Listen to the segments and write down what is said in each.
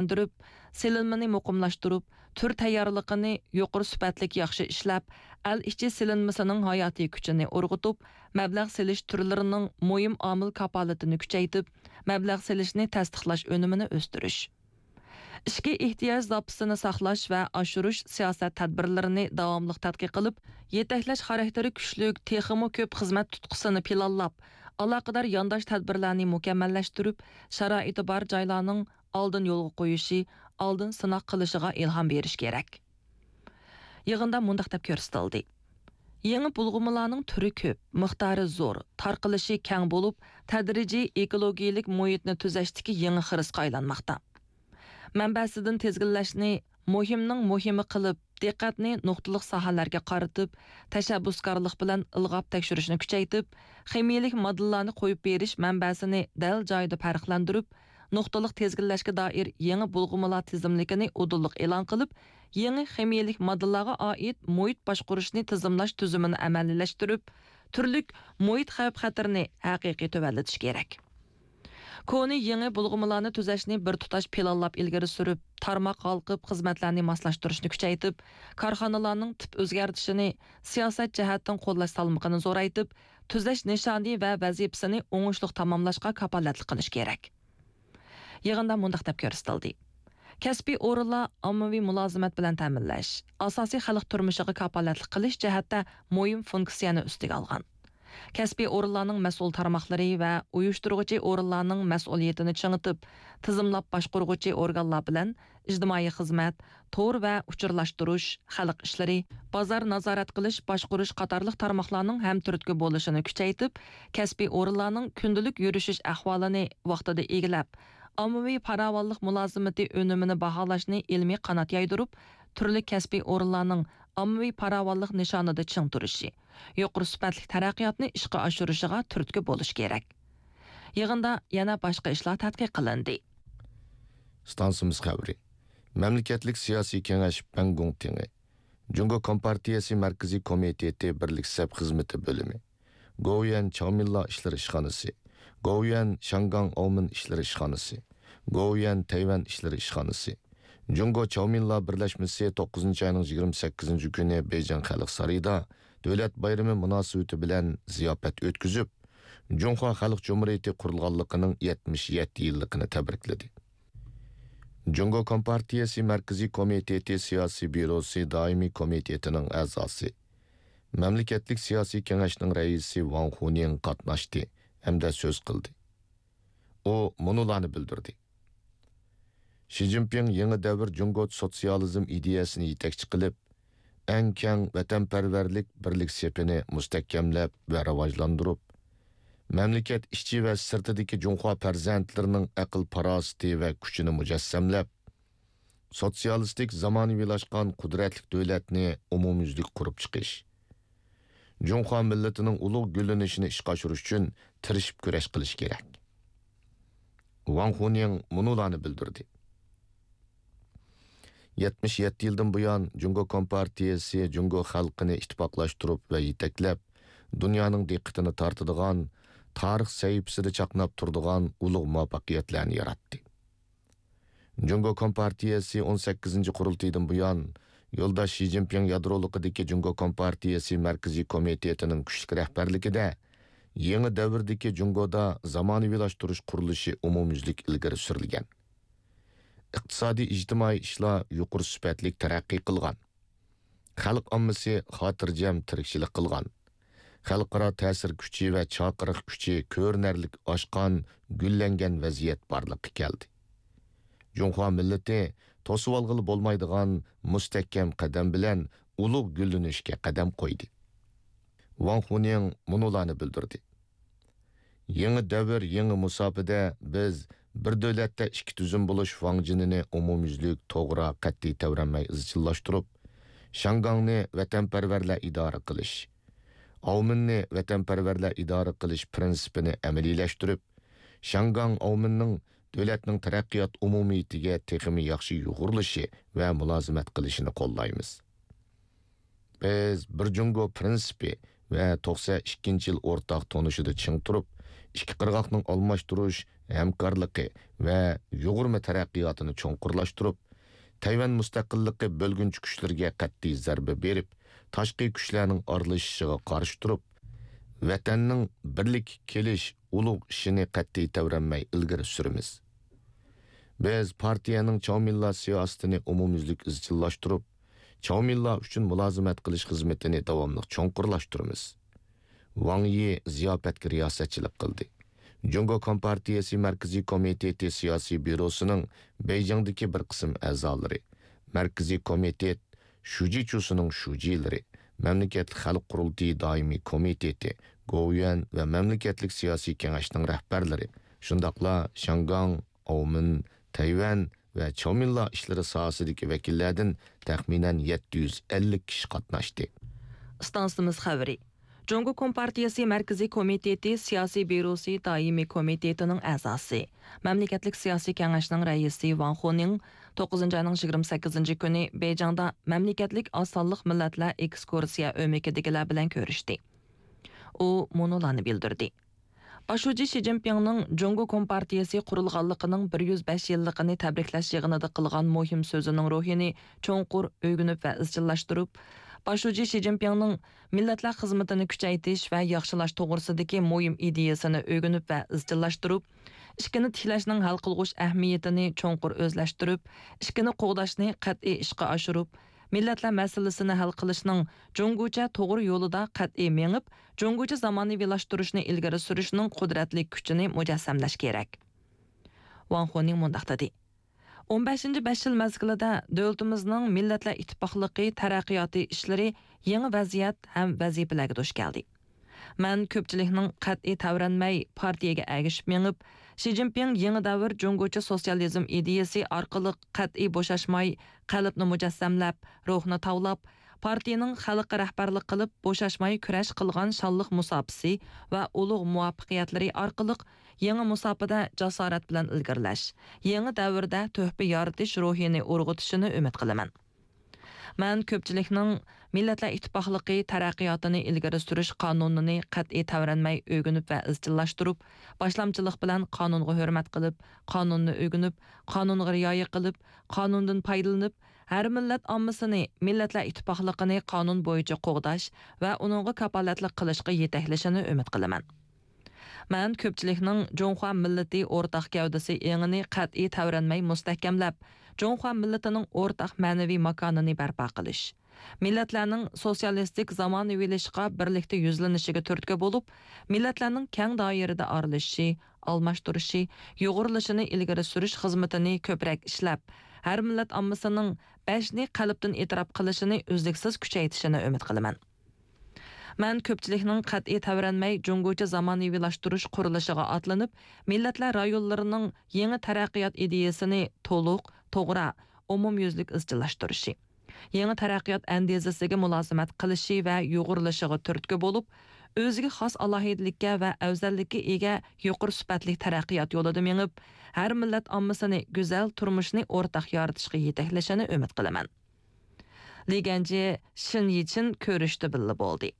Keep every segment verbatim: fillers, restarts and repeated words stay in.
كېڭەيتىپ، سېلىنمىنى مۇقىملاشتۇرۇپ، تۈر تەييارلىقىنى يۇقىرى سۈپەتلىك ياخشى ئىشلەپ، ئەل ئىچى سېلىنمىسىنىڭ ھاياتىي كۈچىنى ئۇرغۇتۇپ، مەبلەغ سېلىش تۈرلىرىنىڭ مۇھىم ئامىل كاپالىتىنى كۈچەيتىپ، مەبلەغ سېلىشنى تەستىقلاش ئۈنۈمىنى ئۆستۈرۈش. ئىچكى ئېھتىياج زاپىسىنى ساقلاش ۋە ئاشۇرۇش سىياسەت تەدبىرلىرىنى داۋاملىق تەتقىق قىلىپ، يېتەكلەش خاراكتېرى كۈچلۈك، تېخىمۇ كۆپ خىزمەت تۇتقىسىنى پىلانلاپ، ئالاقىدار يانداش تەدبىرلەرنى مۇكەممەللەشتۈرۈپ، شارائىتى بار جايلارنىڭ ئالدىن يولغا قويۇشى، ئالدىن سىناق قىلىشىغا ئىلھام بېرىش كېرەك. يىغىندا مۇنداق دەپ كۆرسىتىلدى: يېڭى بۇلغىمىلارنىڭ تۈرى كۆپ، مىقدارى زور، تارقىلىشى كەڭ بولۇپ، تەدرىجىي ئېكولوگىيەلىك مۇھىتنى تۈزەشتىكى يېڭى خىرىسقا ئايلانماقتا. مەنبەسىدىن تىزگىنلەشنى مۇھىمنىڭ مۇھىمى قىلىپ، دىققەتنى نۇقتىلىق ساھەلەرگە قارىتىپ، تەشەببۇسكارلىق بىلەن ئىلغاپ تەكشۈرۈشنى كۈچەيتىپ، خىمىيەلىك ماددىلارنى قويۇپ بېرىش مەنبەسىنى دەل جايىدا پەرقلەندۈرۈپ، نۇقتىلىق تىزگىنلەشكە دائىر يېڭى بۇلغىمىلار تىزىملىكىنى ئۇدۇللۇق ئېلان قىلىپ، يېڭى خىمىيەلىك ماددىلارغا ئائىت مۇھىت باشقۇرۇشنى تىزىملاش تۈزۈمىنى ئەمەلىيلەشتۈرۈپ، تۈرلۈك مۇھىت خەۋپ-خەتىرىنى ھەقىقىي تۆۋەنلىتىش كېرەك. كونا يېڭى بۇلغىمىلارنى تۈزەشنى بىر تۇتاش پىلانلاپ ئىلگىرى سۈرۈپ، تارماق ھالقىپ خىزمەتلەرنى ماسلاشتۇرۇشنى كۈچەيتىپ، كارخانىلارنىڭ تىپ ئۆزگەرتىشىنى سىياسەت جەھەتتىن قوللاش سالمىقىنى زورايتىپ، تۈزەش نىشانى ۋە ۋەزىپىسىنى ئوڭۇشلۇق تاماملاشقا كاپالەتلىك قىلىش كېرەك. يىغىندا مۇنداق دەپ كۆرسىتىلدى: كەسپىي ئورۇنلار ئاممىۋى مۇلازىمەت بىلەن تەمىنلەش، ئاساسىي خەلق تۇرمۇشىغا كاپالەتلىك قىلىش جەھەتتە مۇھىم فۇنكسىيەنى ئۈستىگە ئالغان. كەسپىي ئورۇنلارنىڭ مەسئۇل تارماقلىرى ۋە ئۇيۇشتۇرغۇچى ئورۇنلارنىڭ مەسئۇلىيىتىنى چىڭىتىپ، تىزىملاپ باشقۇرغۇچى ئورگانلار بىلەن ئىجتىمائىي خىزمەت، تور ۋە ئۇچۇرلاشتۇرۇش، خەلق ئىشلىرى، بازار نازارەت قىلىش، باشقۇرۇش قاتارلىق تارماقلارنىڭ ھەمتۈرتكە بولۇشىنى كۈچەيتىپ، كەسپىي ئورۇنلارنىڭ كۈندىلىك يۈرۈشۈش ئەھۋالىنى ۋاقتىدا ئىگىلەپ، ئاممىۋى پاراۋانلىق مۇلازىمىتى ئۈنۈمىنى باھالاشنى ئىلمىي قانات يايدۇرۇپ، تۈرلۈك كەسپىي ئورۇنلارنىڭ ئاممىۋى پاراۋانلىق نىشانىدا چىڭ تۇرۇشى، يۇقىرى سۈپەتلىك تەرەققىياتنى ئىشقا ئاشۇرۇشىغا تۈرتكە بولۇش كېرەك. يىغىندا يەنە باشقا ئىشلار تەتقىق قىلىندى. ئىستانسىمىز خەۋىرى. مەملىكەتلىك سىياسىي كېڭەش بەڭگوڭ تېڭى، جۇڭگو كومپارتىيەسى مەركىزىي كومىتېتى بىرلىك سەپ خىزمىتى بۆلۈمى، گوۋۇيۈەن چاۋمىنلا ئىشلىرى ئىشخانىسى، گوۋۇيۈەن شياڭگاڭ ئاۋمېن ئىشلىرى ئىشخانىسى، گوۋۇيۈەن تەيۋەن ئىشلىرى ئىشخانىسى، جۇڭگو چاۋمىنلا بىرلەشمىسى توققۇزىنچى ئاينىڭ يىگىرمە سەككىزىنچى كۈنى بېيجىڭ خەلق سارىيىدا دۆلەت بايرىمى مۇناسىۋىتى بىلەن زىياپەت ئۆتكۈزۈپ، جۇڭخۇا خەلق جۇمھۇرىيىتى قۇرۇلغانلىقىنىڭ يەتمىش يەتتە يىللىقىنى تەبرىكلىدى. جۇڭگو كومپارتىيەسى مەركىزىي كومىتېتى سىياسىي بيۇروسى دائىمىي كومىتېتىنىڭ ئەزاسى، مەملىكەتلىك سىياسىي كېڭەشنىڭ رەئىسى ۋاڭ خۇنيىڭ قاتناشتى ھەمدە سۆز قىلدى. ئۇ مۇنۇلارنى بىلدۈردى: شى جىنپىڭ يېڭى دەۋر جۇڭگو سوتسىيالىزم ئىدىيەسىنى يېتەكچى قىلىپ، ئەڭ كەڭ ۋەتەنپەرۋەرلىك بىرلىك سېپىنى مۇستەھكەملەپ ۋە راۋاجلاندۇرۇپ، مەملىكەت ئىچى ۋە سىرتىدىكى جۇڭخۇا پەرزەنتلىرىنىڭ ئەقىل-پاراسىتى ۋە كۈچىنى مۇجەسسەملەپ، سوتسىيالىستىك زامانىۋىلاشقان قۇدرەتلىك دۆلەتنى ئومۇميۈزلۈك قۇرۇپ چىقىش، جۇڭخۇا مىللىتىنىڭ ئۇلۇغ گۈللىنىشىنى ئىشقا ئاشۇرۇش ئۈچۈن تىرىشىپ كۈرەش قىلىش كېرەك. ۋاڭ خۇنيىڭ مۇنۇلارنى بىلدۈردى: يەتمىش يەتتە يىلدىن بۇيان، جۇڭگو كومپارتىيەسى جۇڭگو خەلقىنى ئىتتىپاقلاشتۇرۇپ ۋە يېتەكلەپ، دۇنيانىڭ دىققىتىنى تارتىدىغان، تارىخ سەھىپىسىدە چاقناپ تۇرىدىغان ئۇلۇغ مۇۋەپپەقىيەتلەرنى ياراتتى. جۇڭگو كومپارتىيەسى ئون سەككىزىنچى قۇرۇلتىيىدىن بۇيان، يولداش شى جىنپىڭ يادرولۇقىدىكى جۇڭگو كومپارتىيەسى مەركىزىي كومىتېتىنىڭ كۈچلۈك رەھبەرلىكىدە، يېڭى دەۋردىكى جۇڭگودا زامانىۋىلاشتۇرۇش قۇرۇلۇشى ئومۇميۈزلۈك ئىلگىرى سۈرۈلگەن. ئىقتىسادىي، ئىجتىمائىي ئىشلار يۇقىرى سۈپەتلىك تەرەققىي قىلغان. خەلق ئاممىسى خاتىرجەم تىرىكچىلىك قىلغان. خەلقئارا تەسىر كۈچى ۋە چاقىرىق كۈچى كۆرۈنەرلىك ئاشقان، گۈللەنگەن ۋەزىيەت بارلىققا كەلدى. جۇڭخۇا مىللىتى توسۇۋالغىلى بولمايدىغان مۇستەھكەم قەدەم بىلەن ئۇلۇغ گۈللىنىشكە قەدەم قويدى. ۋاڭ خۇنيىڭ مۇنۇلارنى بىلدۈردى: يېڭى دەۋر، يېڭى مۇساپىدە بىز بىر دۆلەتتە ئىككى تۈزۈم بولۇش ۋاڭجېنىنى ئومۇميۈزلۈك، توغرا، قەتئىي تەۋرەنمەي ئىزچىللاشتۇرۇپ، شياڭگاڭنى ۋەتەنپەرۋەرلەر ئىدارە قىلىش، ئاۋمېننى ۋەتەنپەرۋەرلەر ئىدارە قىلىش پىرىنسىپىنى ئەمەلىيلەشتۈرۈپ، شياڭگاڭ ئاۋمېننىڭ دۆلەتنىڭ تەرەققىيات ئومۇمىيىتىگە تېخىمۇ ياخشى يۇغۇرۇلۇشى ۋە مۇلازىمەت قىلىشىنى قوللايمىز. بىز بىر جۇڭگو پىرىنسىپى ۋە توقسەن ئىككىنچى يىل ئورتاق تونۇشىدا چىڭ تۇرۇپ، ئىككى قىرغاقنىڭ ئالماشتۇرۇش ھەمكارلىقى ۋە يۇغۇرما تەرەققىياتىنى چوڭقۇرلاشتۇرۇپ، تەيۋەن مۇستەقىللىقى بۆلگۈنچى كۈچلىرىگە قەتئىي زەربە بېرىپ، تاشقى كۈچلەرنىڭ ئارىلىشىشىغا قارشى تۇرۇپ، ۋەتەننىڭ بىرلىككە كېلىش ئۇلۇغ ئىشىنى قەتئىي تەۋرەنمەي ئىلگىرى سۈرىمىز. بىز پارتىيەنىڭ چاۋمىللا سىياسىتىنى ئومۇميۈزلۈك ئىزچىللاشتۇرۇپ، چاۋمىللا ئۈچۈن مۇلازىمەت قىلىش خىزمىتىنى داۋاملىق چوڭقۇرلاشتۇرىمىز. ۋاڭ يى زىياپەتكە رىياسەتچىلىك قىلدى. جۇڭگو كومپارتىيەسى مەركىزىي كومىتېتى سىياسىي بيۇروسىنىڭ بېيجىڭدىكى بىر قىسىم ئەزالىرى، مەركىزىي كومىتېت شۇجىچۇسىنىڭ شۇجىلىرى، مەملىكەتلىك خەلق قۇرۇلتىيى دائىمىي كومىتېتى، گوۋۇيۈەن ۋە مەملىكەتلىك سىياسىي كېڭەشنىڭ رەھبەرلىرى، شۇنداقلا شياڭگاڭ، ئاۋمېن، تەيۋەن ۋە چاۋمىنلا ئىشلىرى ساھەسىدىكى ۋەكىللەردىن تەخمىنەن يەتتە يۈز ئەللىك كىشى قاتناشتى. ئىستانسىمىز خەۋىرى. جۇڭگو كومپارتىيەسى مەركىزىي كومىتېتى سىياسىي بيۇروسى دائىمىي كومىتېتىنىڭ ئەزاسى، مەملىكەتلىك سىياسىي كېڭەشنىڭ رەئىسى ۋاڭ خۇنىڭ توققۇزىنچى ئاينىڭ يىگىرمە سەككىزىنچى كۈنى بېيجىڭدا مەملىكەتلىك ئاز سانلىق مىللەتلەر ئېكسكۇرسىيە ئۆمىكىدىكىلەر بىلەن كۆرۈشتى. ئۇ مۇنۇلارنى بىلدۈردى. باش شۇجى شى جىنپىڭنىڭ جۇڭگو كومپارتىيەسى قۇرۇلغانلىقىنىڭ بىر يۈز بەش يىللىقىنى تەبرىكلەش يىغىنىدا قىلغان مۇھىم سۆزىنىڭ روھىنى چوڭقۇر ئۆگىنىپ ۋە ئىزچىللاشتۇرۇپ، باش شۇجى شى جىنپىڭنىڭ مىللەتلەر خىزمىتىنى كۈچەيتىش ۋە ياخشىلاش توغرىسىدىكى مۇھىم ئىدىيەسىنى ئۆگىنىپ ۋە ئىزچىللاشتۇرۇپ، ئىككىنى تىكلەشنىڭ ھەل قىلغۇچ ئەھمىيىتىنى چوڭقۇر ئۆزلەشتۈرۈپ، ئىككىنى قوغداشنى قەتئىي ئىشقا ئاشۇرۇپ، مىللەتلەر مەسىلىسىنى ھەل قىلىشنىڭ جۇڭگوچە توغرا يولىدا قەتئىي مېڭىپ، جۇڭگوچە زامانىۋىلاشتۇرۇشنى ئىلگىرى سۈرۈشنىڭ قۇدرەتلىك كۈچىنى مۇجەسسەملەش كېرەك. ۋاڭ خۇنىڭ مۇنداق دېدى. ئون بەشىنچى بەش يىل مەزگىلىدە دۆلىتىمىزنىڭ مىللەتلەر ئىتتىپاقلىقى تەرەققىياتى ئىشلىرى يېڭى ۋەزىيەت ھەم ۋەزىپىلەرگە دۇچ كەلدى. مەن كۆپچىلىكنىڭ قەتئىي تەۋرەنمەي پارتىيەگە ئەگىشىپ مېڭىپ، شى جىنپىڭ يېڭى دەۋر جۇڭگوچە سوتسىيالىزم ئىدىيەسى ئارقىلىق قەتئىي بوشاشماي قەلبنى مۇجەسسەملەپ، روھنى تاۋلاپ، پارتىيىنىڭ خەلققە رەھبەرلىك قىلىپ بوشاشماي كۈرەش قىلغان شانلىق مۇساپىسى ۋە ئۇلۇغ مۇۋەپپەقىيەتلىرى ئارقىلىق يېڭى مۇساپىدە جاسارەت بىلەن ئىلگىرىلەش، يېڭى دەۋردە تۆھپە يارىتىش روھىنى ئۇرغۇتۇشىنى ئۈمىد قىلىمەن. مەن كۆپچىلىكنىڭ مىللەتلەر ئىتتىپاقلىقى تەرەققىياتىنى ئىلگىرى سۈرۈش قانۇنىنى قەتئىي تەۋرەنمەي ئۆگىنىپ ۋە ئىزچىللاشتۇرۇپ، باشلامچىلىق بىلەن قانۇنغا ھۆرمەت قىلىپ، قانۇننى ئۆگىنىپ، قانۇنغا رىئايە قىلىپ، قانۇندىن پايدىلىنىپ، ھەر مىللەت ئاممىسىنى مىللەتلەر ئىتتىپاقلىقىنى قانۇن بويىچە قوغداش ۋە ئۇنىڭغا كاپالەتلىك قىلىشقا يېتەكلىشىنى ئۈمىد قىلىمەن. مەن كۆپچىلىكنىڭ جۇڭخۇا مىللىتى ئورتاق گەۋدىسى ئېڭىنى قەتئىي تەۋرەنمەي مۇستەھكەملەپ، جۇڭخۇا مىللىتىنىڭ ئورتاق مەنىۋى ماكانىنى بەرپا قىلىش، مىللەتلەرنىڭ سوتسىيالىستىك زامانىۋىلىشىشقا بىرلىكتە يۈزلىنىشىگە تۈرتكە بولۇپ، مىللەتلەرنىڭ كەڭ دائىرىدە ئارىلىشىشى، ئالماشتۇرۇشى، يۇغۇرۇلۇشىنى ئىلگىرى سۈرۈش خىزمىتىنى كۆپرەك ئىشلەپ، ھەر مىللەت ئاممىسىنىڭ بەشنى قەلبتىن ئېتىراپ قىلىشىنى ئۈزلۈكسىز كۈچەيتىشىنى ئۈمىد قىلىمەن. مەن كۆپچىلىكنىڭ قەتئىي تەۋرەنمەي جۇڭگوچە زامانىۋىلاشتۇرۇش قۇرۇلۇشىغا ئاتلىنىپ، مىللەتلەر رايونلىرىنىڭ يېڭى تەرەققىيات ئىدىيەسىنى تولۇق، توغرا، ئومۇميۈزلۈك ئىزچىللاشتۇرۇشى، يېڭى تەرەققىيات ئەندىزىسىگە مۇلازىمەت قىلىشى ۋە يۇغۇرۇلۇشىغا تۈرتكە بولۇپ، ئۆزىگە خاس ئالاھىدىلىككە ۋە ئەۋزەللىككە ئىگە يۇقىرى سۈپەتلىك تەرەققىيات يولىدا مېڭىپ، ھەر مىللەت ئاممىسىنى گۈزەل تۇرمۇشنى ئورتاق يارىتىشقا يېتەكلىشىنى ئۈمىد قىلىمەن. لى گەنجى، شىن يىچىن كۆرۈشتە بىللە بولدى.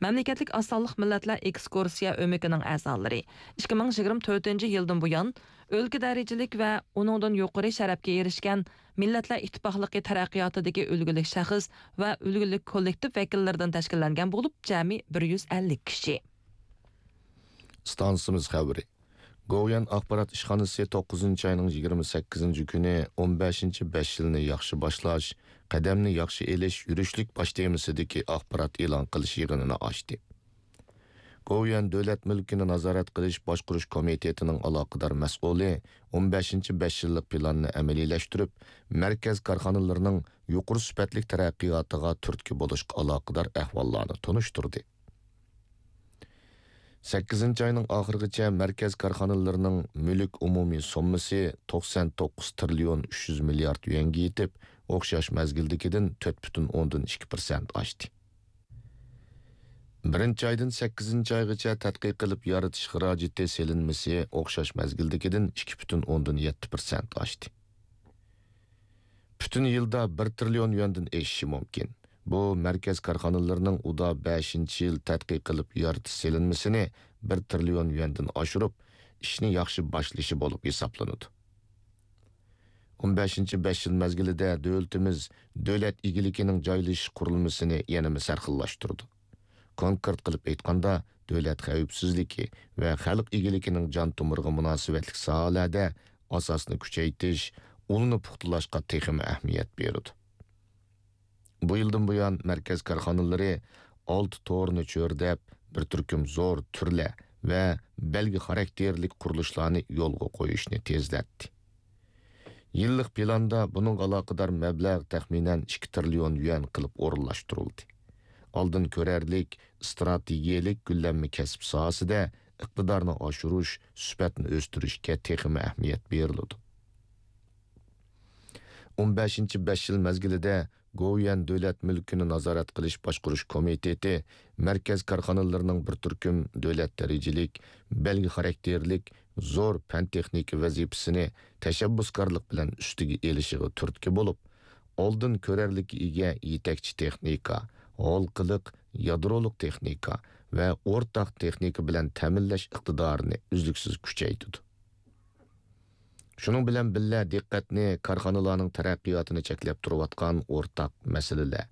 مەملىكەتلىك ئاز سانلىق مىللەتلەر ئېكسكۇرسىيە ئۆمىكىنىڭ ئەزالىرى ئىككى مىڭ يىگىرمە تۆتىنچى يىلدىن بۇيان، ئۆلكە دەرىجىلىك ۋە ئۇنىڭدىن يۇقىرى شەرەپكە ئېرىشكەن مىللەتلەر ئىتتىپاقلىقى تەرەققىياتىدىكى ئۈلگىلىك شەخس ۋە ئۈلگىلىك كوللېكتىپ ۋەكىللىرىدىن تەشكىللەنگەن بولۇپ، جەمئىي بىر يۈز ئەللىك كىشى. ئىستانسىمىز خەۋىرى. گوۋۇيۈەن ئاخبارات ئىشخانىسى توققۇزىنچى ئاينىڭ يىگىرمە سەككىزىنچى كۈنى ئون بەشىنچى بەش يىلنى ياخشى باشلاش، قەدەمنى ياخشى ئېلىش يۈرۈشلۈك باش تېمىسىدىكى ئاخبارات ئېلان قىلىش يىغىنىنى ئاچتى. گوۋۇيۈەن دۆلەت مۈلكىنى نازارەت قىلىش باشقۇرۇش كومىتېتىنىڭ ئالاقىدار مەسئۇلى ئون بەشىنچى بەش يىللىق پىلاننى ئەمەلىيلەشتۈرۈپ، مەركەز كارخانىلىرىنىڭ يۇقىرى سۈپەتلىك تەرەققىياتىغا تۈرتكە بولۇشقا ئالاقىدار ئەھۋاللارنى تونۇشتۇردى. سەككىزىنچى ئاينىڭ ئاخىرىغىچە مەركەز كارخانىلىرىنىڭ مۈلۈك ئومۇمىي سوممىسى توقسان توققۇز تىرىليون ئۈچ يۈز مىليارد يۈەنگە يېتىپ، ئوخشاش مەزگىلدىكىدىن تۆت پۈتۈن ئوندىن ئىككى پىرسەنت ئاشتى. بىرىنچى ئايدىن سەككىزىنچى ئايغىچە تەتقىق قىلىپ يارىتىش خىراجىتى سېلىنمىسى ئوخشاش مەزگىلدىكىدىن ئىككى پۈتۈن ئوندىن يەتتە پىرسەنت ئاشتى. پۈتۈن يىلدا بىر تىرىليون يۈەندىن ئېشىشى مۇمكىن. بۇ مەركەز كارخانىلىرىنىڭ ئۇدا بەشىنچى يىل تەتقىق قىلىپ يارىتىش سېلىنمىسىنى بىر تىرىليون يۈەندىن ئاشۇرۇپ، ئىشنى ياخشى باشلىشى بولۇپ ھېسابلىنىدۇ. ئون بەشىنچى بەش يىل مەزگىلىدە دۆلىتىمىز دۆلەت ئىگىلىكىنىڭ جايلىشىش قۇرۇلمىسىنى يەنىمۇ سەرخىللاشتۇرىدۇ. كونكرېت قىلىپ ئېيتقاندا، دۆلەت خەۋپسىزلىكى ۋە خەلق ئىگىلىكىنىڭ جان تومۇرىغا مۇناسىۋەتلىك ساھەلەردە ئاساسنى كۈچەيتىش، ئۇلنى پۇختىلاشقا تېخىمۇ ئەھمىيەت بېرىدۇ. بۇ يىلدىن بۇيان، مەركەز كارخانىلىرى ئالتە تورنى چۆرىدەپ، بىر تۈركۈم زور تۈرلەر ۋە بەلگە خاراكتېرلىك قۇرۇلۇشلارنى يولغا قويۇشنى تېزلەتتى. يىللىق پىلاندا بۇنىڭغا ئالاقىدار مەبلەغ تەخمىنەن ئىككى تىرىليون يۈەن قىلىپ ئورۇنلاشتۇرۇلدى. ئالدىن كۆرەرلىك، ئىستراتېگىيەلىك گۈللەنمە كەسىپ ساھەسىدە ئىقتىدارنى ئاشۇرۇش، سۈپەتنى ئۆستۈرۈشكە تېخىمۇ ئەھمىيەت بېرىلىدۇ. ئون بەشىنچى بەش يىل مەزگىلىدە گوۋۇيۈەن دۆلەت مۈلكىنى نازارەت قىلىش باشقۇرۇش كومىتېتى مەركەز كارخانىلىرىنىڭ بىر تۈركۈم دۆلەت دەرىجىلىك، بەلگە خاراكتېرلىك زور پەن-تېخنىكا ۋەزىپىسىنى تەشەببۇسكارلىق بىلەن ئۈستىگە ئېلىشىغا تۈرتكە بولۇپ، ئالدىن كۆرەرلىككە ئىگە يېتەكچى تېخنىكا، ھالقىلىق، يادرولۇق تېخنىكا ۋە ئورتاق تېخنىكا بىلەن تەمىنلەش ئىقتىدارىنى ئۈزلۈكسىز كۈچەيتىدۇ. شۇنىڭ بىلەن بىللە، دىققەتنى كارخانىلارنىڭ تەرەققىياتىنى چەكلەپ تۇرۇۋاتقان ئورتاق مەسىلىلەر،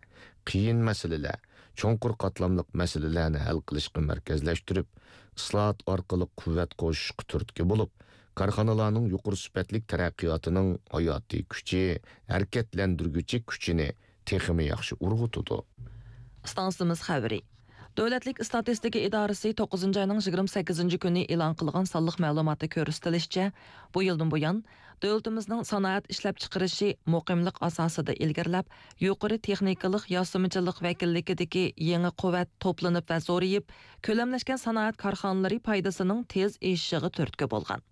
قىيىن مەسىلىلەر، چوڭقۇر قاتلاملىق مەسىلىلەرنى ھەل قىلىشقا مەركەزلەشتۈرۈپ، ئىسلاھات ئارقىلىق قۇۋۋەت قوشۇشقا تۈرتكە بولۇپ، كارخانىلارنىڭ يۇقىرى سۈپەتلىك تەرەققىياتىنىڭ ھاياتىي كۈچى، ھەرىكەتلەندۈرگۈچى كۈچىنى تېخىمۇ ياخشى ئۇرغۇتىدۇ. ئىستانسىمىز خەۋىرى. دۆلەتلىك ئىستاتىستىكا ئىدارىسى توققۇزىنچى ئاينىڭ يىگىرمە سەككىزىنچى كۈنى ئېلان قىلغان سانلىق مەلۇماتتا كۆرسىتىلىشىچە، بۇ يىلدىن بۇيان، دۆلىتىمىزنىڭ سانائەت ئىشلەپچىقىرىشى مۇقىملىق ئاساسىدا ئىلگىرىلەپ، يۇقىرى تېخنىكىلىق ياسىمىچىلىق ۋەكىللىكىدىكى يېڭى قۇۋۋەت توپلىنىپ ۋە زورىيىپ، كۆلەملەشكەن سانائەت كارخانىلىرى پايدىسىنىڭ تېز ئېشىشىغا تۈرتكە بولغان.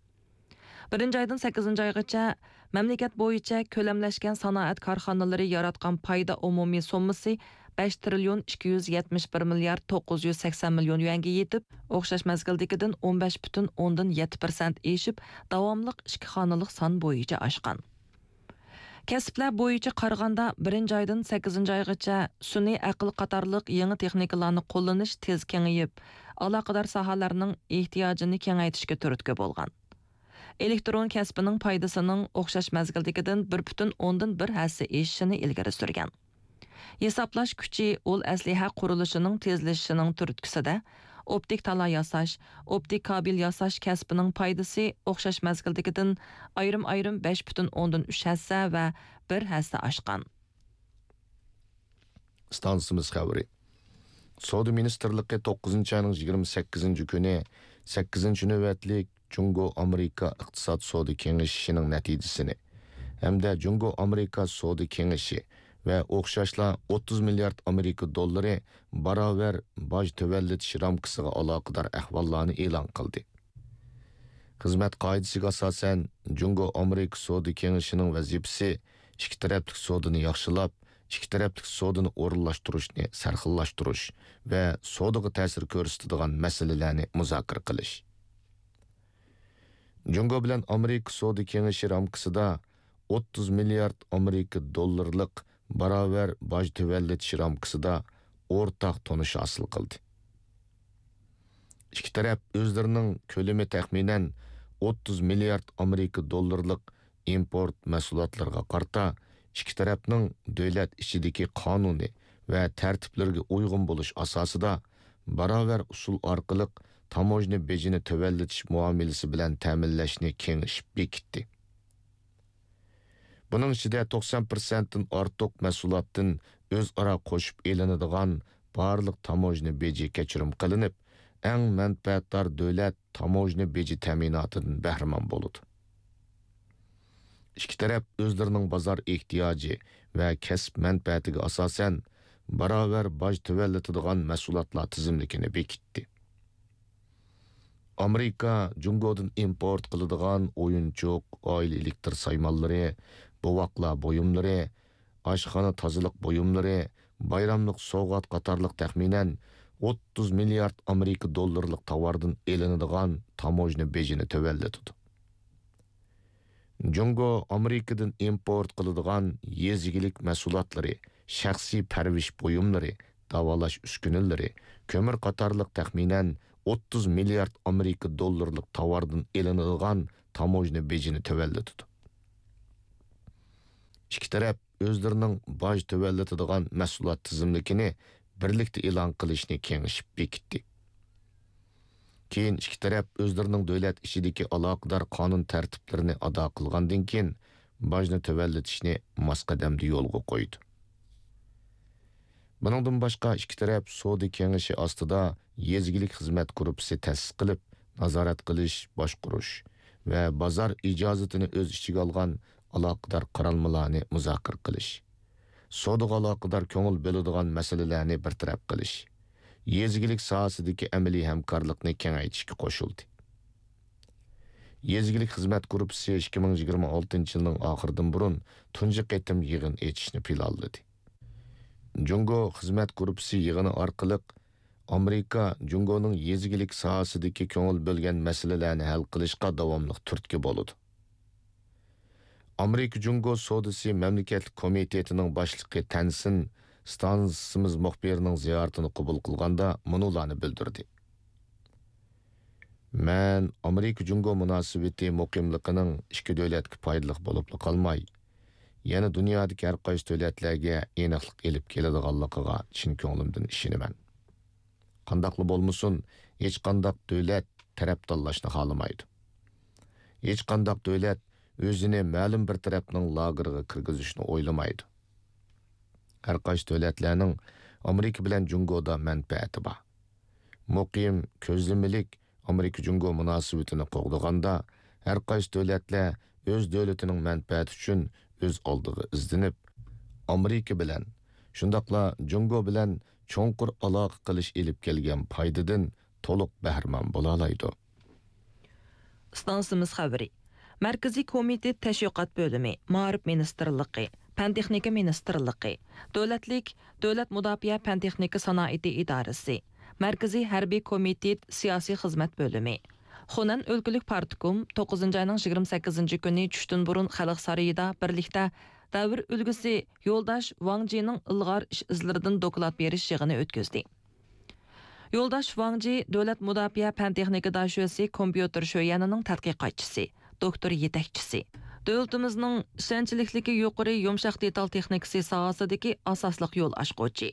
بىرىنچى ئايدىن سەككىزىنچى ئايغىچە مەملىكەت بويىچە كۆلەملەشكەن سانائەت كارخانىلىرى ياراتقان پايدا ئومۇمىي سوممىسى بەش تىرىليون ئىككى يۈز يەتمىش بىر مىليارد توققۇز يۈز سەكسەن مىليون يۈەنگە يېتىپ، ئوخشاش مەزگىلدىكىدىن ئون بەش پۈتۈن ئوندىن يەتتە پىرسەنت ئېشىپ، داۋاملىق ئىككى خانىلىق سان بويىچە ئاشقان. كەسىپلەر بويىچە قارىغاندا، بىرىنچى ئايدىن سەككىزىنچى ئايغىچە سۈنئىي ئەقىل قاتارلىق يېڭى تېخنىكىلارنى قوللىنىش تېز كېڭىيىپ، ئالاقىدار ساھەلەرنىڭ ئېھتىياجىنى كېڭەيتىشكە تۈرتكە بولغان. ئېلېكترون كەسپىنىڭ پايدىسىنىڭ ئوخشاش مەزگىلدىكىدىن بىر پۈتۈن ئوندىن بىر ھەسسە ئېشىشىنى ئىلگىرى سۈرگەن. ھېسابلاش كۈچى ئۇل ئەسلىھە قۇرۇلۇشىنىڭ تېزلىشىشىنىڭ تۈرتكىسىدە، ئوپتىك تالا ياساش، ئوپتىك كابېل ياساش كەسپىنىڭ پايدىسى ئوخشاش مەزگىلدىكىدىن ئايرىم-ئايرىم بەش پۈتۈن ئوندىن ئۈچ ھەسسە ۋە بىر ھەسسە ئاشقان. ئىستانسىمىز خەۋىرى. سودا مىنىستىرلىقى توققۇزىنچى ئاينىڭ يىگىرمە سەككىزىنچى كۈنى سەككىزىنچى نۆۋەتلىك جۇڭگو ئامېرىكا ئىقتىساد سودا كېڭىشىشىنىڭ نەتىجىسىنى ھەمدە جۇڭگو ئامېرىكا سودا كېڭىشى ۋە ئوخشاشلا ئوتتۇز مىليارد ئامېرىكا دوللىرى باراۋەر باج تۆۋەنلىتىش رامكىسىغا ئالاقىدار ئەھۋاللارنى ئېلان قىلدى. خىزمەت قائىدىسىگە ئاساسەن، جۇڭگو ئامېرىكا سودا كېڭىشىنىڭ ۋەزىپىسى ئىككى تەرەپلىك سودىنى ياخشىلاپ، ئىككى تەرەپلىك سودىنى ئورۇنلاشتۇرۇشنى سەرخىللاشتۇرۇش ۋە سودىغا تەسىر كۆرسىتىدىغان مەسىلىلەرنى مۇزاكىرە قىلىش. جۇڭگو بىلەن ئامېرىكا سودا كېڭىشى رامكىسىدا ئوتتۇز مىليارد ئامېرىكا دوللىرىلىق باراۋەر باج تۆۋەنلىتىش رامكىسىدا ئورتاق تونۇش ھاسىل قىلدى. ئىككى تەرەپ ئۆزلىرىنىڭ كۆلىمى تەخمىنەن ئوتتۇز مىليارد ئامېرىكا دوللىرىلىق ئىمپورت مەھسۇلاتلىرىغا قارىتا، ئىككى تەرەپنىڭ دۆلەت ئىچىدىكى قانۇنى ۋە تەرتىپلىرىگە ئۇيغۇن بولۇش ئاساسىدا، باراۋەر ئۇسۇل ئارقىلىق تاموژنا بېجىنى تۆۋەنلىتىش مۇئامىلىسى بىلەن تەمىنلەشنى كېڭىشىپ بېكىتتى. بۇنىڭ ئىچىدە توقسان پىرسەنتتىن ئارتۇق مەھسۇلاتتىن ئۆزئارا قوشۇپ ئېلىنىدىغان بارلىق تاموژنا بېجى كەچۈرۈم قىلىنىپ، ئەڭ مەنپەئەتدار دۆلەت تاموژنا بېجى تەمىناتىدىن بەھرىمەن بولىدۇ. ئىككى تەرەپ ئۆزلىرىنىڭ بازار ئېھتىياجى ۋە كەسىپ مەنپەئەتىگە ئاساسەن، باراۋەر باج تۆۋەنلىتىدىغان مەھسۇلاتلار تىزىملىكىنى بېكىتتى. ئامېرىكا جۇڭگودىن ئىمپورت قىلىدىغان ئويۇنچۇق، ئائىلە ئېلېكتر سايمانلىرى، بوۋاقلار بۇيۇملىرى، ئاشخانا تازىلىق بۇيۇملىرى، بايراملىق سوۋغات قاتارلىق تەخمىنەن ئوتتۇز مىليارد ئامېرىكا دوللىرىلىق تاۋاردىن ئېلىنىدىغان تاموژنا بېجىنى تۆۋەنلىتىدۇ. جۇڭگو ئامېرىكىدىن ئىمپورت قىلىدىغان يېزا ئىگىلىك مەھسۇلاتلىرى، شەخسىي پەرۋىش بۇيۇملىرى، داۋالاش ئۈسكۈنىلىرى، كۆمۈر قاتارلىق تەخمىنەن ئوتتۇز مىليارد ئامېرىكا دوللىرىلىق تاۋاردىن ئېلىنىدىغان تاموژنا بېجىنى تۆۋەنلىتىدۇ. ئىككى تەرەپ ئۆزلىرىنىڭ باج تۆۋەنلىتىدىغان مەھسۇلات تىزىملىكىنى بىرلىكتە ئېلان قىلىشنى كېڭىشىپ بېكىتتى. كېيىن ئىككى تەرەپ ئۆزلىرىنىڭ دۆلەت ئىچىدىكى ئالاقىدار قانۇن تەرتىپلىرىنى ئادا قىلغاندىن كېيىن، باجنى تۆۋەنلىتىشنى ماس قەدەمدە يولغا قويدى. بۇنىڭدىن باشقا، ئىككى تەرەپ سودا كېڭىشى ئاستىدا يېزا ئىگىلىك خىزمەت گۇرۇپپىسى تەسىس قىلىپ، نازارەت قىلىش، باشقۇرۇش ۋە بازار ئىجازىتىنى ئۆز ئىچىگە ئالغان ئالاقىدار قارالمىلارنى مۇزاكىرە قىلىش، سودىغا ئالاقىدار كۆڭۈل بۆلىدىغان مەسىلىلەرنى بىر تەرەپ قىلىش، يېزا ئىگىلىك ساھەسىدىكى ئەمەلىي ھەمكارلىقنى كېڭەيتىشكە قوشۇلدى. يېزا ئىگىلىك خىزمەت گۇرۇپپىسى ئىككى مىڭ يىگىرمە ئالتىنچى يىلنىڭ ئاخىرىدىن بۇرۇن تۇنجى قېتىم يىغىن ئېچىشنى پىلانلىدى. جۇڭگو خىزمەت گۇرۇپپىسى يىغىنى ئارقىلىق ئامېرىكا جۇڭگونىڭ يېزا ئىگىلىك ساھەسىدىكى كۆڭۈل بۆلگەن مەسىلىلەرنى ھەل قىلىشقا داۋاملىق تۈرتكە بولىدۇ. ئامېرىكا جۇڭگو سودىسى مەملىكەتلىك كومىتېتىنىڭ باشلىقى تەنسىن ستانسىمىز مۇخبىرىنىڭ زىيارىتىنى قوبۇل قىلغاندا مۇنۇلارنى بىلدۈردى. مەن ئامېرىكا جۇڭگو مۇناسىۋىتى مۇقىملىقىنىڭ ئىككى دۆلەتكە پايدىلىق بولۇپلا قالماي، يەنە دۇنيادىكى ھەر قايسى دۆلەتلەرگە ئېنىقلىق ئېلىپ كېلىدىغانلىقىغا چىن كۆڭلۈمدىن ئىشىنىمەن. قانداقلا بولمىسۇن، ھېچقانداق دۆلەت تەرەپ تاللاشنى خالىمايدۇ. ھېچقانداق دۆلەت ئۆزىنى مەلۇم بىر تەرەپنىڭ لاگېرىغا كىرگۈزۈشنى ئويلىمايدۇ. ھەر قايسى دۆلەتلەرنىڭ ئامېرىكا بىلەن جۇڭگودا مەنپەئەتى بار. مۇقىم، كۆزلىمىلىك ئامېرىكا جۇڭگو مۇناسىۋىتىنى قوغدىغاندا، ھەر قايسى دۆلەتلەر ئۆز دۆلىتىنىڭ مەنپەئەتى ئۈچۈن ئۆز ئالدىغا ئىزدىنىپ، ئامېرىكا بىلەن، شۇنداقلا جۇڭگو بىلەن چوڭقۇر ئالاقە قىلىش ئېلىپ كەلگەن پايدىدىن تولۇق بەھرىمەن بولالايدۇ. ئىستانسىمىز خەۋىرى. مەركىزىي كومىتېت تەشۋىقات بۆلۈمى، مائارىپ مىنىستىرلىقى، پەن تېخنىكا مىنىستىرلىقى، دۆلەتلىك دۆلەت مۇداپىئە پەن تېخنىكا سانائىتى ئىدارىسى، مەركىزىي ھەربىي كومىتېت سىياسىي خىزمەت بۆلۈمى، خۇنەن ئۆلكىلىك پارتكوم توققۇزىنچى ئاينىڭ يىگىرمە سەككىزىنچى كۈنى چۈشتىن بۇرۇن خەلق سارىيىدا بىرلىكتە دەۋر ئۈلگىسى يولداش ۋاڭ جىنىڭ ئىلغار ئىش ئىزلىرىدىن دوكلات بېرىش يىغىنى ئۆتكۈزدى. يولداش ۋاڭ جى دۆلەت مۇداپىئە پەن تېخنىكا داشۆسى كومپيۇتېر شۆيۈەنىنىڭ تەتقىقاتچىسى، دوكتور يېتەكچىسى. دۆلىتىمىزنىڭ ئىشەنچلىكلىكى يۇقىرى يۇمشاق دېتال تېخنىكىسى ساھەسىدىكى ئاساسلىق يول ئاچقۇچى.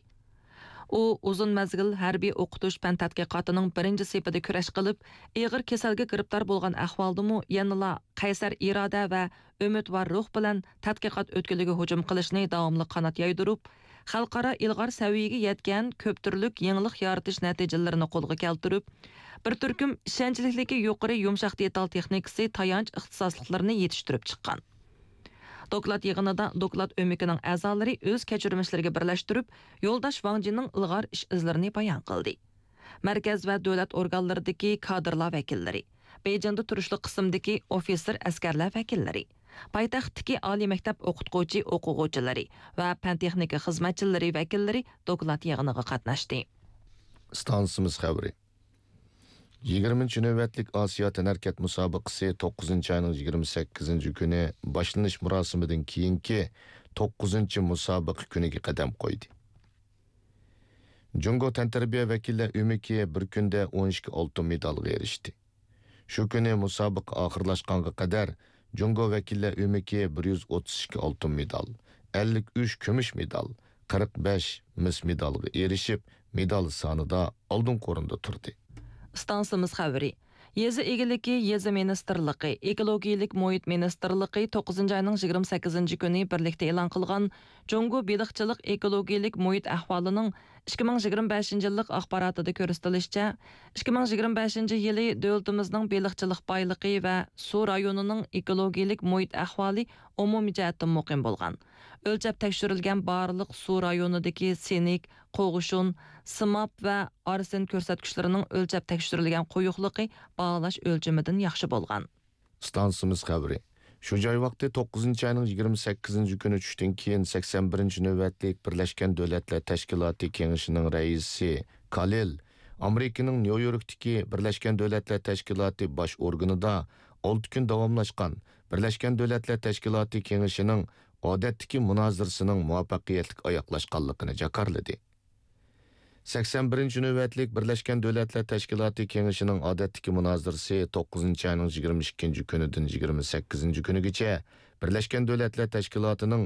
ئۇ ئۇزۇن مەزگىل ھەربىي ئوقۇتۇش پەن تەتقىقاتىنىڭ بىرىنچى سېپىدە كۈرەش قىلىپ، ئېغىر كېسەلگە گىرىپتار بولغان ئەھۋالدىمۇ يەنىلا قەيسەر ئىرادە ۋە ئۈمىدۋار روھ بىلەن تەتقىقات ئۆتكىلىگە ھۇجۇم قىلىشنى داۋاملىق قانات يايدۇرۇپ، خەلقئارا ئىلغار سەۋىيەگە يەتكەن كۆپ تۈرلۈك يېڭىلىق يارىتىش نەتىجىلىرىنى قولغا كەلتۈرۈپ، بىر تۈركۈم ئىشەنچلىكلىكى يۇقىرى يۇمشاق دېتال تېخنىكىسى تايانچ ئىختىساسلىقلىرىنى يېتىشتۈرۈپ چىققان. دوكلات يىغىنىدا دوكلات ئۆمىكىنىڭ ئەزالىرى ئۆز كەچۈرمىشلىرىگە بىرلەشتۈرۈپ، يولداش ۋاڭ جىنىڭ ئىلغار ئىش ئىزلىرىنى بايان قىلدى. مەركەز ۋە دۆلەت ئورگانلىرىدىكى كادىرلار ۋەكىللىرى، بېيجىڭدا تۇرۇشلۇق قىسىمدىكى ئوفىتسېر ئەسكەرلەر ۋەكىللىرى، پايتەختتىكى ئالىي مەكتەپ ئوقۇتقۇچى ئوقۇغۇچىلىرى ۋە پەن تېخنىكا خىزمەتچىلىرى ۋەكىللىرى دوكلات يىغىنىغا قاتناشتى. ئىستانسىمىز خەۋىرى. يىگىرمىنچى نۆۋەتلىك ئاسىيا تەنھەرىكەت مۇسابىقىسى توققۇزىنچى ئاينىڭ يىگىرمە سەككىزىنچى كۈنى باشلىنىش مۇراسىمىدىن كېيىنكى توققۇزىنچى مۇسابىقە كۈنىگە قەدەم قويدى. جۇڭگو تەنتەربىيە ۋەكىللەر ئۆمىكى بىر كۈندە ئون ئىككى ئالتۇن مېدالغا ئېرىشتى. شۇ كۈنى مۇسابىقە ئاخىرلاشقانغا قەدەر جۇڭگو ۋەكىللەر ئۆمىكى بىر يۈز ئوتتۇز ئىككى ئالتۇن مېدال، ئەللىك ئۈچ كۈمۈش مېدال، قىرىق بەش مىس مېدالغا ئېرىشىپ، مېدال سانىدا ئالدىنقى ئورۇندا تۇردى. ئىستانسىمىز خەۋىرى. يېزا ئىگىلىكى، يېزا مىنىستىرلىقى، ئېكولوگىيەلىك مۇھىت مىنىستىرلىقى توققۇزىنچى ئاينىڭ يىگىرمە سەككىزىنچى كۈنى بىرلىكتە ئېلان قىلغان جۇڭگو بېلىقچىلىق ئېكولوگىيەلىك مۇھىت ئەھۋالىنىڭ ئىككى مىڭ يىگىرمە بەشىنچى يىللىق ئاخباراتىدا كۆرسىتىلىشىچە، ئىككى مىڭ يىگىرمە بەشىنچى يىلى دۆلىتىمىزنىڭ بېلىقچىلىق بايلىقى ۋە سۇ رايونىنىڭ ئېكولوگىيەلىك مۇھىت ئەھۋالى ئومۇمىي جەھەتتىن مۇقىم بولغان. ئۆلچەپ تەكشۈرۈلگەن بارلىق سۇ رايونىدىكى سىنك، قوغۇشۇن، سىماب ۋە ئارسېن كۆرسەتكۈچلىرىنىڭ ئۆلچەپ تەكشۈرۈلگەن قويۇقلۇقى باھالاش ئۆلچىمىدىن ياخشى بولغان. ئىستانسىمىز خەۋىرى. شۇ جاي ۋاقتى توققۇزىنچى ئاينىڭ يىگىرمە سەككىزىنچى كۈنى چۈشتىن كېيىن سەكسەن بىرىنچى نۆۋەتلىك بىرلەشكەن دۆلەتلەر تەشكىلاتى كېڭىشىنىڭ رەئىسى كالىل ئامېرىكىنىڭ نيۇ يوركتىكى بىرلەشكەن دۆلەتلەر تەشكىلاتى باش ئورگىنىدا ئالتە كۈن داۋاملاشقان بىرلەشكەن دۆلەتلەر تەشكىلاتى كېڭىشىنىڭ ئادەتتىكى مۇنازىرىسىنىڭ مۇۋەپپەقىيەتلىك ئاياغلاشقانلىقىنى جاكارلىدى. سەكسەن بىرىنچى نۆۋەتلىك بىرلەشكەن دۆلەتلەر تەشكىلاتى كېڭىشىنىڭ ئادەتتىكى مۇنازىرىسى توققۇزىنچى ئاينىڭ يىگىرمە ئىككىنچى كۈنىدىن يىگىرمە سەككىزىنچى كۈنىگىچە بىرلەشكەن دۆلەتلەر تەشكىلاتىنىڭ